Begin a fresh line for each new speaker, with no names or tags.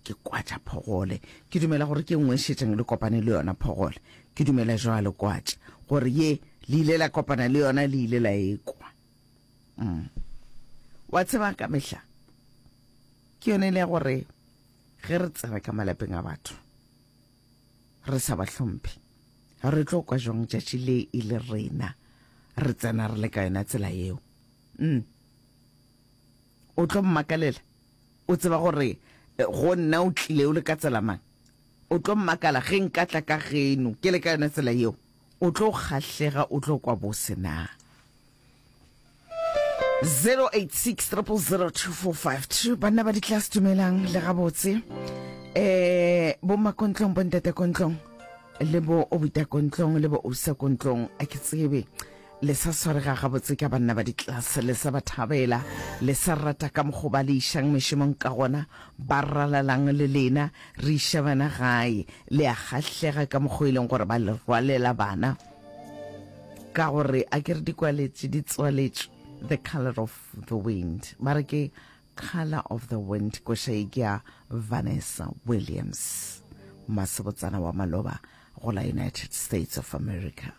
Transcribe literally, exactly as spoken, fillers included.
Ke kwatša Phogole. Ke dumela gore ke nngwe e šetšeng le kopane le yona, Phogole. Ke dumela jwalo, kwatša, gore ye le ile la kopana le yona, le ile la e kwa. Mm. Wa tseba, ka mehla ke yone le ya gore ge re tsena ka malapeng a batho re sa ba hlomphe, re tlo kwa jwang tšatši le e le rena re tsena re le ka yona tsela yeo? Mm. O tlo mmakalela, o tseba gore eh, go nna o tlile o le ka tsela mang. O tlo mmakala ge nka tla ka geno ke le ka yona tsela yeo. O tlo kgahlega, o tlo kwa bose na. zero eight six triple zero two four five two. Banna ba ditlase, dumelang le gabotse. Eh bo makontlong, bo ntate kontlong, le bo obuta kontlong, le bo ousa kontlong, a ke tsebe le sa swarega gabotse ka banna ba ditlase, le sa ba thabela, le sa rata ka mokgo ba le išang mešomong ka gona, ba ralalang le lena, re iša bana gae, le a kgahlega ka mokgo e leng gore ba le rwalela bana, ka gore a ke re dikwaletše di tswaletšwe. The Color of the Wind, ba re ke Color of the Wind, koša ye ke ya Vanessa Williams, masebotsana wa maloba go la United States of America.